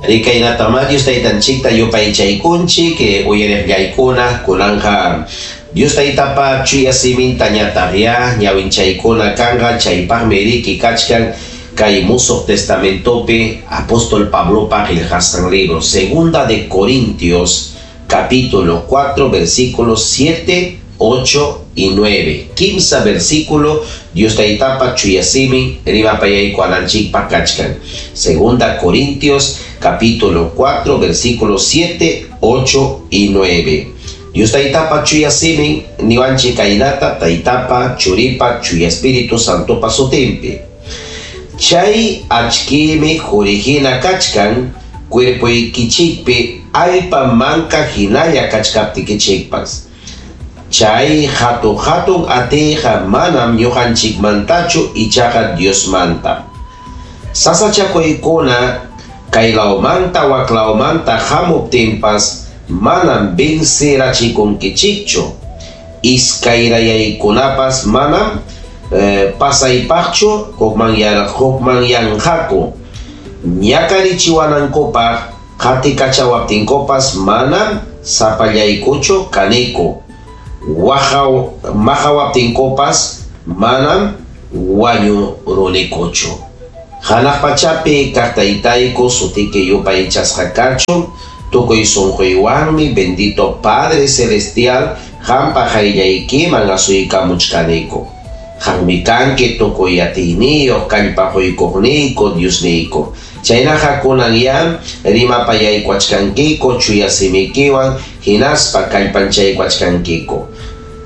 Rikaynatamá Dios Taytanchikta yupaychaykunchik, uyariqllaykuna, kunanqa Dios Taytapa chuya siminta ñataqyá ñawinchaykuna kanqa, chaypaqmi riki kachkan kay Musuq Testamentopi apóstol Pablopa qillqasqan libro, Segunda de Corintios, capítulo 4, versículos 7, 8 y 9. Kimsa versículo, Dios Taytapa chuya simin rimapayaykuwananchikpaq kachkan. Segunda Corintios, capítulo 4, versículos 7, 8 y 9. Dios Taytapa chuya simin niwanchik kaynata Taytapa, Churipa, Chuya Espíritu Santopa sutinpi. Chay achkiymi qurihina kachkan cuerpoykichikpi allpa manka hinalla kachkaptikichikpas. Chay hatu-hatun atiyqa manam ñuqanchikmantachu ichaqa Diosmanta. Sasachakuykuna kaylawmanta waklawmanta hamuptinpas manam vencerachikunkichikchu. Iskayrayaykunapas manam pasaypaqchu hukmanyanqaku. Ñakarichiwanankupaq qatikachawaptinkupas manam sapallaykuchu kaniku. Maqawaptinkupas manam wañurunikuchu. Hanaq pachapi kaq Taytayku sutiki yupaychasqa kachun, tukuy sunquywanmi bendito Padre Celestial qampa qayllaykiman asuykamuchkaniku. Qammi kanki tukuy atiyniyuq kallpa quykuqniyku Diosniyku. Chaynaqa kunanyá rimapayaykuachkankiku chuya simikiwan hinaspa kallpanchaykuachkankiku.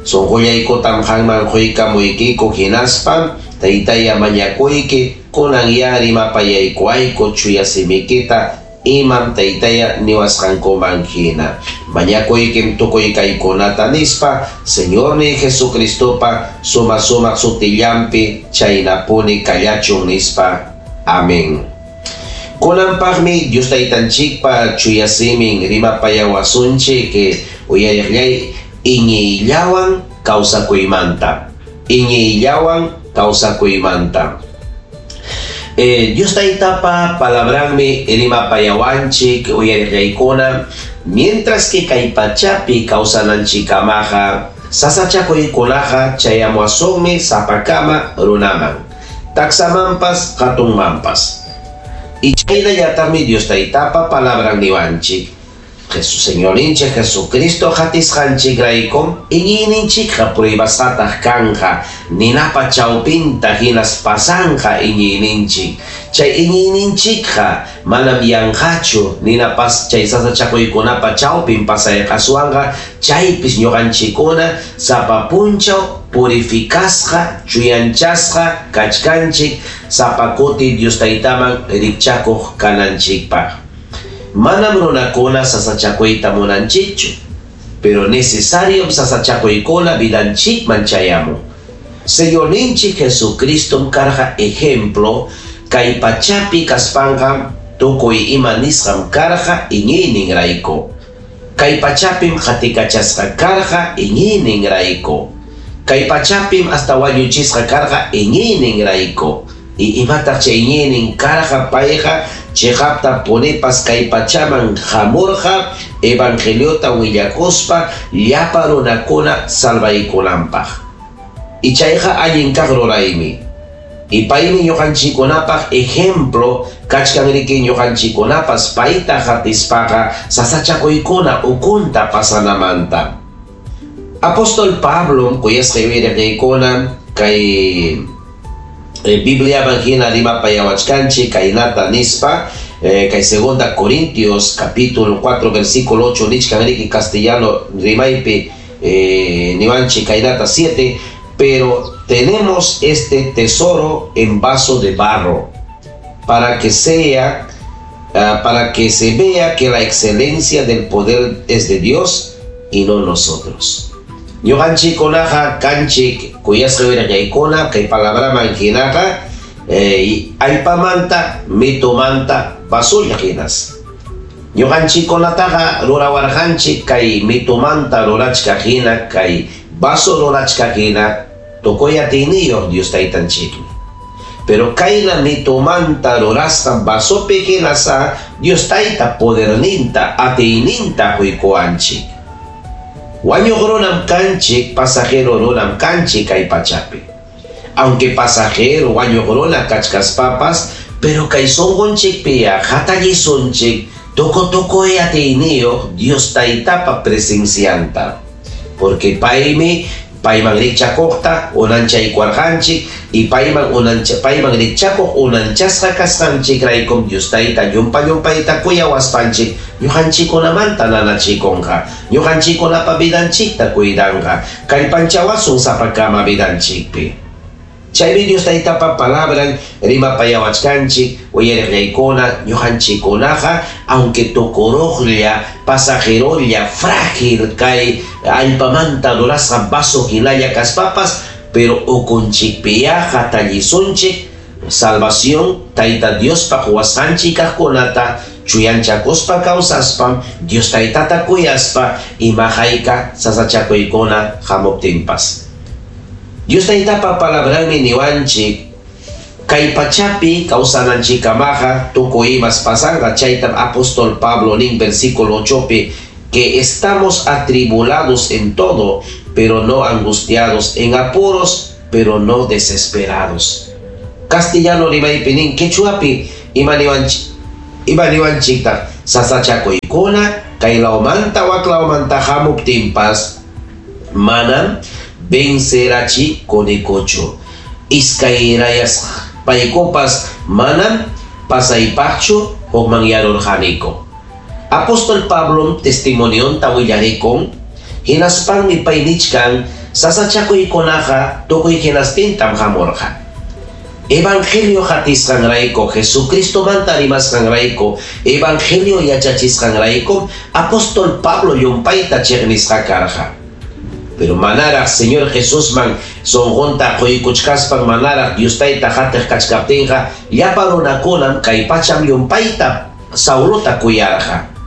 Sunqullaykutam qamman quykamuykiku hinaspa Taytaya mañakuyki kunanyá rimapayaykuayku chuya simikita imam Taytaya niwasqankuman hina. Mañakuykim tukuy kaykunata nispa Señorniy Jesucristopa suma-sumaq sutillanpi chaynapuni kallachun nispa. Amén. Kunanpaqmi Dios Taytanchikpa chuya simin rimapayawasunchik uyariqllay iñiyllawan kawsakuymanta. Iñiyllawan kawsakuymanta. Dios Taytapa palabranmi rimapayawanchik uyariqllaykuna, mientras que kay pachapi kawsananchikamaqa sasachakuykunaqa chayamuwasunmi sapakama runaman, taksamanpas hatunmanpas. Y chaynallataqmi Dios Taytapa palabran niwanchik. Jesús Señorninchik Jesucristo qatisqanchikraykum iñiyninchikqa pruebasqataq kanqa, ninapa chawpinta hinas pasanqa iñiyninchik. Chay iñiyninchikqa manam yanqachu ninapas chay sasachakuykunapa chawpin pasayqaswanqa, chaypis ñuqanchikkuna sapa punchaw purificasqa, chuyanchasqa kachkanchik sapa kuti Dios Taytaman rikchakuq kananchikpaq. Manam runakuna sasachakuyta munanchikchu, pero necesariom sasachakuykuna vidanchikman chayamun. Señorninchik Jesucristom karqa ejemplo kay pachapi kaspanqa tukuy ima nisqam karqa iñiyninrayku. Kay pachapim qatikachasqa karqa iñiyninrayku. Kay pachapim hasta wañuchisqa karqa iñiyninrayku. Y imataq chay iñiynin karqa payqa chiqapta punipas kay pachaman hamurqa evangeliota willakuspa llapa runakuna salvaykunanpaq. Y chayqa allin kaq ruraymi. Y paymi ñuqanchikkunapaq ejemplo kachkan riki ñuqanchikkunapas payta qatispaqa sasachakuykuna ukunta pasanamanta. Apóstol Pablo kuyasqa yuyariqniykuna kay Bibliaman hina rimapayawachkanchik kaynata nispa kay Segunda Corintios capítulo 4 versículo 8 nichkan riki castellano rimaypi niwanchik kaynata 7, pero tenemos este tesoro en vaso de barro para que sea para que se vea que la excelencia del poder es de Dios y no nosotros. Ñuqanchikkunaqa kanchik kuyasqa wiraqaykuna kay palabraman hinaqa allpamanta mitumanta vasulla hinas. Ñuqanchikkunataqa rurawarqanchik kay mitumanta rurachkaq hina, kay vaso rurachkaq hina tukuy atiyniyuq Dios Taytanchikmi. Pero kayna mitumanta rurasqa vasopi hinasá Dios Tayta poderninta, atiyninta quykuwanchik. Wañuq runam kanchik, pasajero runam kanchik kay pachapi. Aunque pasajero wañuq runa kachkaspapas, pero kay sunqunchikpiya hatallisunchik tuku tukuy atiyniyuq Dios Taytapa presencianta. Porque paymi payman rikchakuqta unanchaykuwarqanchik y payman unancha payman rikchakuq unanchasqa kasqanchikraykum Dios Tayta llumpa llumpayta kuyawaspanchik ñuqanchikkunamanta nanachikunqa, ñuqanchikkunapa vidanchikta cuidanqa, kallpanchawasun sapakama vidanchikpi. Chaymi Dios Taytapa palabran rimapayawachkanchik uyariqllaykuna ñuqanchikkunaqa aunque tukuruqlla, pasajerolla, frágil kay allpamanta rurasqa vaso hinalla kaspapas, pero ukunchikpiyá hatallisunchik salvación Tayta Diospa quwasqanchik kaqkunata chuyanchakuspa kawsaspam Dios Taytata kuyaspa ima hayka sasachakuykuna hamuptinpas. Dios Taytapa palabranmi niwanchik kay pachapi kawsananchikkamaqa tukuy imas pasanqa, chaytam apóstol Pablo nin versículo 8pi que estamos atribulados en todo, pero no angustiados, en apuros, pero no desesperados. Castellano rimaypi nin quechuapi ima niwanchik ima niwanchiktaq sasachakuykuna kay lawmanta wak lawmanta hamuptinpas manam vencerachikunikuchu. Iskayrayasqaykupas manam pasaypaqchu hukmanyarurqaniku. Apóstol Pablom testimonionta willarikun hinaspanmi pay nichkan sasachakuykunaqa tukuy hinastintam hamurqa. Evangelio hatisqanrayku, Jesucristomanta rimasqanrayku, Evangelio yachachisqanrayku, apóstol Pablo llumpayta chiqnisqa karqa. Pero manaraq Señor Jesusman sunqunta quykuchkaspan manaraq Dios Tayta hatiq kachkaptinqa llapa runakunam kay pacham llumpayta Saulota kuyarqa.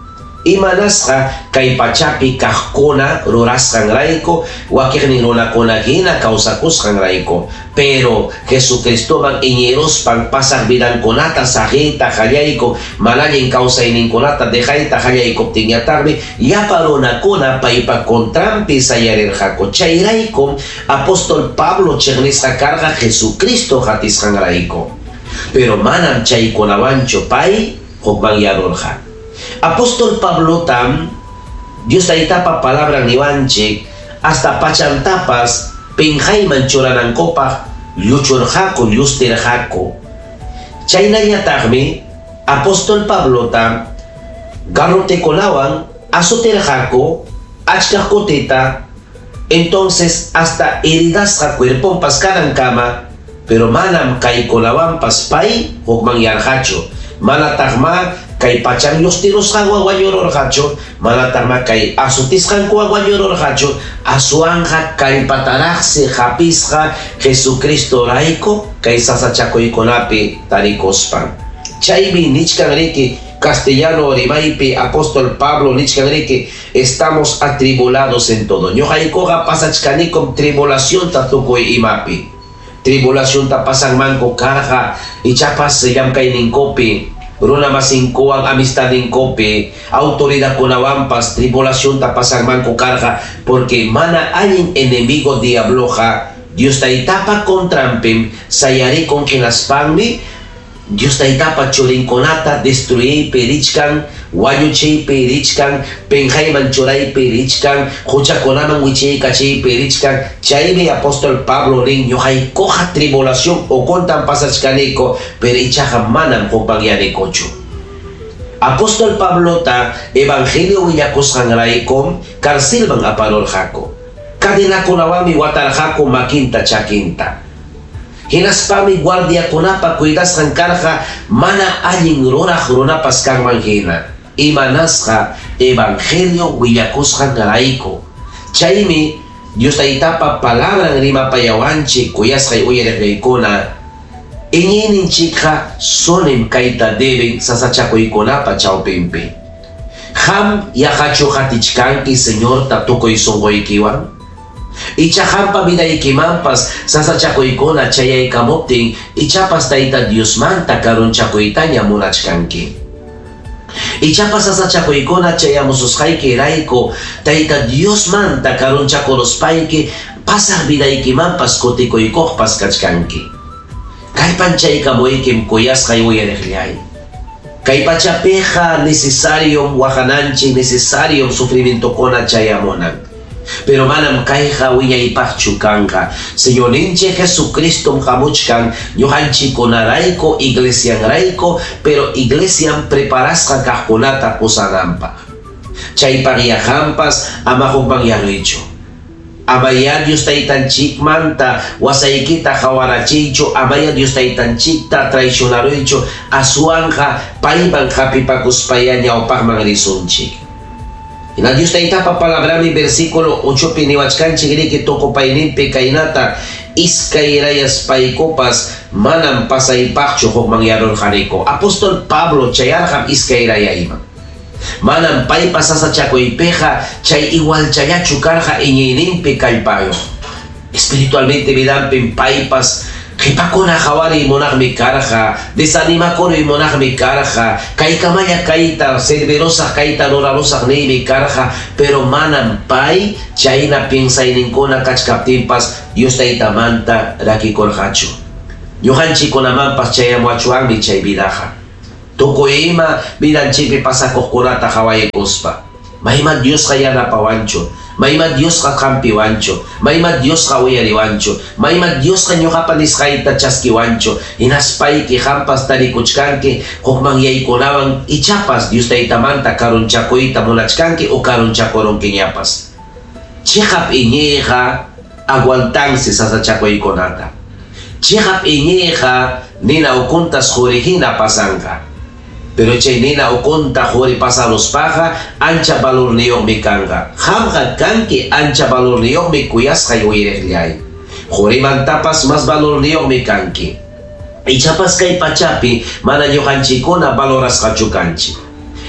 Imanasqa kay pachapi kaqkuna rurasqanrayku, wakiqnin runakuna hina kawsakusqanrayku. Pero Jesucristoman iñiruspan pasaq vidankunata saqiyta qallayku, mana allin kawsayninkunata dejayta qallaykuptinñataqmi llapa runakuna paypa contranpi sayarirqaku. Chayraykum apóstol Pablo chiqnisqa karqa Jesucristo hatisqanrayku. Pero manam chaykunawanchu pay hukmanyarurqa. Apóstol Pablotam Dios Taytapa palabran niwanchik hasta pachantapas pinqayman churanankupaq lluchurqaku, llustirqaku. Chaynallataqmi apóstol Pablota garrotekunawan azotirqaku achka kutita, entonces hasta heridasqa cuerponpas kanankama, pero manam kaykunawanpas pay hukmanyarqachu. Manataqma kay pachan llustirusqanwan wañururqachu, manataqma kay azotisqankuwan wañururqachu, aswanqa kallpataraqsi hapisqa Jesucristorayku kay sasachakuykunapi tarikuspan. Chaymi nichkan riki castellano rimaypi apóstol Pablo nichkan riki estamos atribulados en todo. Ñuqaykuqa pasachkanikum tribulacionta tukuy imapi. Tribulacionta pasanmanku karqa ichapas llamkayninkupi, runa masinkuwan amistadninkupi, autoridadkunawanpas tribulacionta pasanmanku karqa porque mana allin enemigo diabloqa Dios Taytapa contranpim sayarikun hinaspanmi Dios Taytapa churinkunata destruyiypi richkan, wañuchiypi richkan, pinqayman churaypi richkan, huchakunaman wichiykachiypi richkan. Chaymi apóstol Pablo nin ñuqaykuqa tribulación ukuntam pasachkaniku, pero ichaqa manam hukmanyanikuchu. Apóstol Pablota evangelio willakusqanraykum carcelman aparurqaku. Cadenakunawanmi watarqaku makinta chakinta. Hinaspami guardiakunapa cuidasqan karqa mana allin ruraq runapas kanman hina. Imanasqa evangelio willakusqanrayku. Chaymi Dios Taytapa palabran rimapayawanchik kuyasqay uyariqniykuna. Iñiyninchikqa sunim kayta deben sasachakuykunapa chawpinpi. Qam yaqachu qatichkanki Señorta tukuy sunquykiwan? Icha qampa vidaykimanpas sasachakuykuna chayaykamuptin ichapas Tayta Diosmanta karunchakuytaña munachkanki. Ichapas sasachakuykuna chayamususqaykirayku Tayta Diosmanta karunchakuruspayki pasaq vidaykimanpas kutikuykuqpas kachkanki. Kallpanchaykamuykim kuyasqay uyariqllay. Kay pachapiqa necesariom waqananchik, necesariom sufrimientokuna chayamunan. Pero manam kayqa wiñaypaqchu kanqa. Señorninchik Jesucristom hamuchkan ñuqanchikkunarayku, iglesianrayku, pero iglesian preparasqa kaqkunata pusananpaq. Chaypaq qampas ama hukmanyaruychu. Amaya Dios taytanchikmanta wasaykita qawarachiychu, amaya Dios taytanchikta traicionaruychu, aswanqa payman hapipakuspaya ñawpaqman risunchik. Hina Dios taytapa palabrami versículo 8 pi niwachkanchik riki tukupayninpi kaynata iskayrayaspaykupas manam pasaypaqchu hukmanyarurqaniku. Apóstol Pablo chayarqam iskayrayayman. Manam paypa sasachakuypiqa chay igualchallachu karqa iñiyninpi kallpayuq. Espiritualmente vidanpim paypas qhipakuna qhawariy munaqmi karqa, desanimakuruy munaqmi karqa, kaykamalla kayta servirusaq, kayta rurarusaq niymi karqa, pero manam pay chayna piensayninkuna kachkaptinpas Dios taytamanta rakikurqachu. Ñuqanchikkunamanpas chayamuachwanmi chay vidaqa. Tukuy ima vidanchikpi pasakuqkunata qhawaykuspa. Mayman Diosqa yanapawanchu, mayman Diosqa qampiwanchu, mayman Diosqa uyariwanchu, mayman Diosqa ñuqapa nisqayta chaskiwanchu, hinaspayki qampas tarikuchkanki hukmanyaykunawan ichapas Dios taytamanta karunchakuyta munachkanki o karunchakurunkiñapas. Chiqap iñiyqa aguantansi sasachakuykunata. Chiqap iñiyqa nina ukuntas quri hina pasanqa. Pero chay nina ukunta quri pasaruspaqa ancha valorniyuqmi kanqa. Qamqa kanki ancha valorniyuqmi kuyasqay uyariqllay. Qurimantapas mas valorniyuqmi kanki. Ichapas kay pachapi mana ñuqanchikkuna valorasqachu kanchik.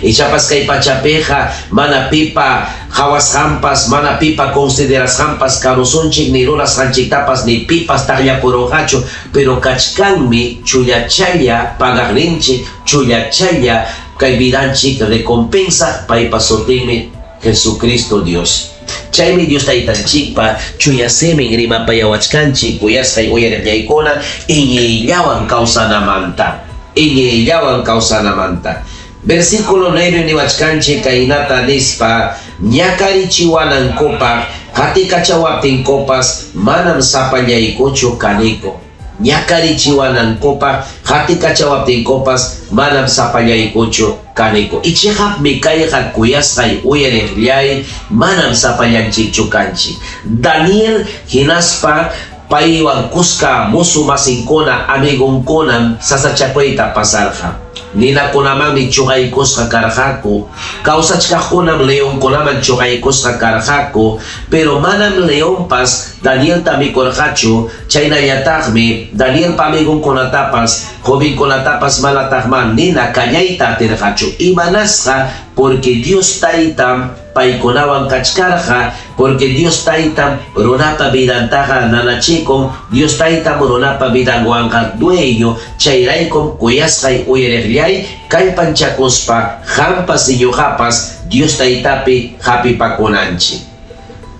Ichapas kay pachapiqa mana pipa qhawasqanpas, mana pipa considerasqanpas karusunchik ni rurasqanchiktapas ni pipas taqllakurunqachu, pero kachkanmi chullachalla pagaqninchik, chullachalla kay vidanchik recompensa paypa sutinmi Jesucristo Dios. Chaymi Dios taytanchikpa chuya simin rimapayawachkanchik kuyasqay uyariqllaykuna iñiyllawan kawsanamanta. Iñiyllawan kawsanamanta. Versículo 9 niwachkanchik kaynata nispa ñakarichiwanankupaq qatikachawaptinkupas manam sapallaykuchu kaniku. Ñakarichiwanankupaq qatikachawaptinkupas manam sapallaykuchu kaniku. Ichiqapmi kayqa kuyasqay uyariqllay manam sapallanchikchu kanchik. Daniel hinaspa paywan kuska musu masinkuna amigunkuna sasachakuyta pasarqa. Ninakunamanmi chuqaykusqa karqaku, kawsachkaqkunam leonkunaman chuqaykusqa karqaku, pero manam leonpas Danielta mikurqachu, chaynallataqmi Danielpa amigunkunatapas, jovenkunatapas manataqman nina kañayta atirqachu. Imanasqa porque Dios taytam paykunawan kachkarqa, porque Dios taytam runapa vidantaqa nanachikun, Dios taytam runapa vidanwanqa dueño, chayraykum kuyasqay uyariqllay kallpanchakuspa qampas ñuqapas Dios taytapi hapipakunanchik.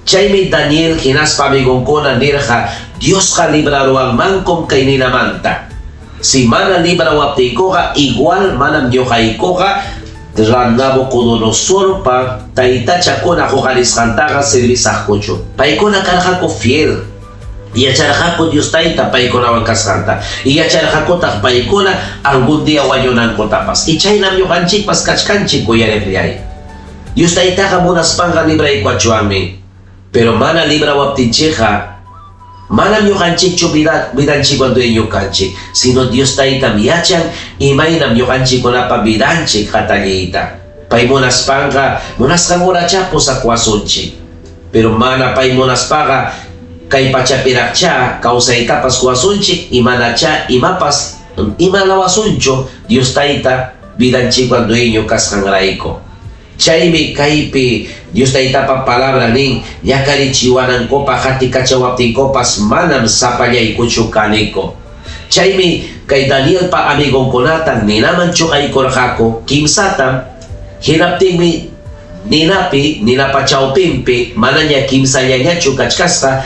Chaymi Daniel hinaspa amigunkuna nirqa Diosqa libraruwanmankum kay ninamanta. Si mana librawaptiykuqa igual manam ñuqaykuqa Nabucodonosorpa taytachakuna huqarisqantaqa servisaqkuchu. Paykuna karqaku fiel. Yacharqaku Dios tayta paykunawan kasqanta. Y yacharqakutaq paykuna algún día wañunankutapas. Y chaynam ñuqanchikpas kachkanchik uyariqllay. Dios taytaqa munaspanqa libraykuachuanmi. Pero mana librawaptinchikqa manam ñuqanchikchu vidanchikwan dueño kanchik, sino Dios taytam yachan imaynam ñuqanchikkunapa vidanchik hatalliyta. Pay munaspanqa munasqan horacha pusakuwasunchik. Pero mana pay munaspaqa kay pachapiraqcha kawsaytapas kuwasunchik imanacha imapas imanawasunchu Dios tayta vidanchikwan dueño kasqanrayku. Chaymi kaypi Dios Taytapa palabra nin, ñakarichiwanankupaq qatikachawaptinkupas manam sapallaykuchu kaniku. Chaymi kay Danielpa amigonkunata ninaman chuqaykurqaku kimsatam, hinaptinmi ninapi, ninapa chawpinpi manaña kimsallañachu kachkasqa,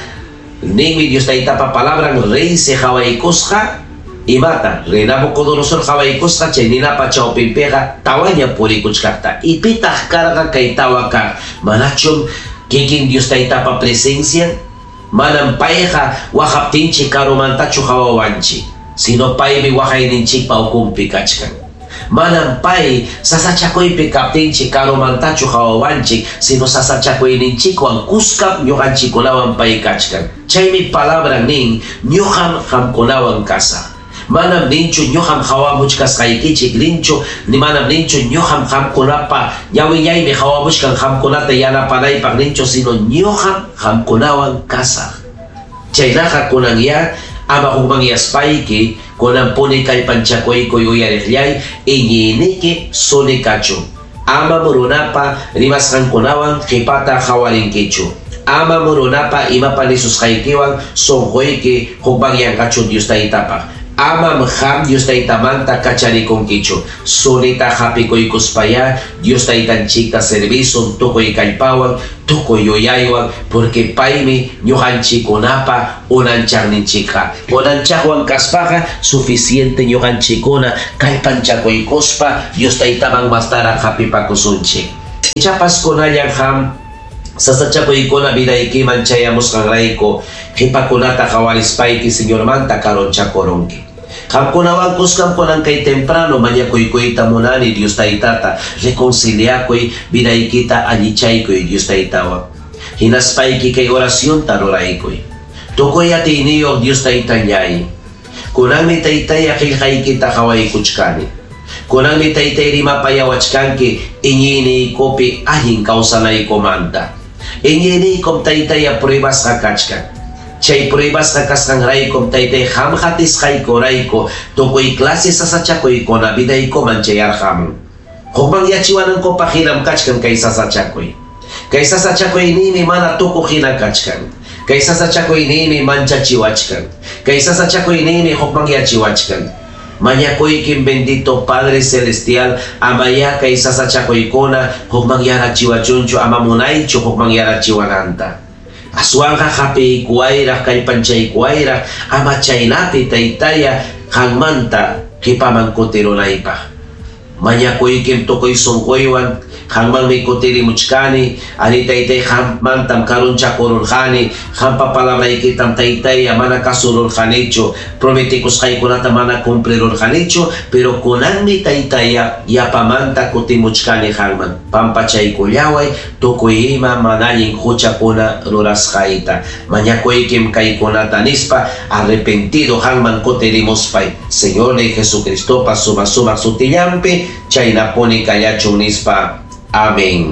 ninmi Dios Taytapa palabran reysi qawaykusqa imata, rey Nabucodonosor qawaykusqa chay ninapa chawpinpiqa tawaña purikuchkaqta. Y pitaq karqa kay tawa kaq? Manachum kikin Dios Taytapa presencian? Manam payqa waqaptinchik karumantachu qawawanchik, sino paymi waqayninchikpa ukunpi kachkan. Manam pay sasachakuypi kaptinchik karumantachu qawawanchik, sino sasachakuyninchikwan kuskam ñuqanchikkunawan pay kachkan. Chaymi palabran nin, ñuqam qamkunawan kasaq. Manam ninchu ñuqam qawamuchkasqaykichik ninchu, ni manam ninchu ñuqam qamkunapa ñawillaymi qawamuchkan qamkunata yanapanaypaq ninchu, sino ñuqam qamkunawan kasaq. Chaynaqa kunanyá ama hukmanyaspayki kunanpuni kallpanchakuykuy uyariqllay iñiyniki suni kachun. Amam runapa rimasqankunawan qipata qawarinkichu. Amam runapa imapa nisusqaykiwan sunquyki hukmanyanqachu Dios Taytapaq. Amam qam Dios Taytamanta kacharikunkichu. Sunita hapikuykuspayá Dios Taytanchikta servisun tukuy kallpawan, tukuy yuyaywan, porque paymi ñuqanchikkunapa unanchaqninchikqa. Unanchaqwan kaspaqa suficiente ñuqanchikkuna kallpanchakuykuspa Dios Taytaman mastaraq hapipakusunchik. Ichapas kunallan qam sasachakuykuna vidaykiman chayamusqanrayku qipakunata qawarispayki Señormanta karunchakurunki. Qamkunawan kuskam kunan kay temprano mañakuykuyta munani Dios Taytata, reconciliakuy vidaykita allichaykuy Dios Taytawan. Hinaspayki kay oracionta ruraykuy. Tukuy atiyniyuq Dios Taytallay. Kunanmi Taytaya qillqaykita qawaykuchkani. Kunanmi Taytay rimapayawachkanki iñiyniykupi allin kawsanaykumanta. Iñiyniykum Taytaya pruebasqa kachkan. Chay pruebasqa kasqanraykum Taytay qam qatisqaykurayku tukuy clase sasachakuykuna vidaykuman chayarqamun. Hukmanyachiwanankupaq hinam kachkan kay sasachakuy. Kay sasachakuyniymi mana tukuq hina kachkan. Kay sasachakuyniymi manchachiwachkan. Kay sasachakuyniymi hukmanyachiwachkan. Mañakuykim bendito Padre Celestial, amayá kay sasachakuykuna hukmanyarachiwachunchu ama munaychu hukmanyarachiwananta. Aswanqa hapiykuwayraq kallpanchaykuwayraq ama chaynapi Taytaya qanmanta qipaman kutirunaypaq. Mañakuykim tukuy sunquywan qanmanmi kutirimuchkani, ari Taytay qammantam karunchakururqani, qampa palabraykitam Taytaya mana kasururqanichu, prometikusqaykunata mana cumplirurqanichu, pero kunanmi Taytaya yapamanta kutimuchkani qanman. Pampachaykullaway tukuy ima mana allin huchakuna rurasqayta. Mañakuykim kaykunata nispa arrepentido qanman kutirimuspay. Señor Jesucristopa suma suma sutillampi chaynapuni kallachun nispa. Amén.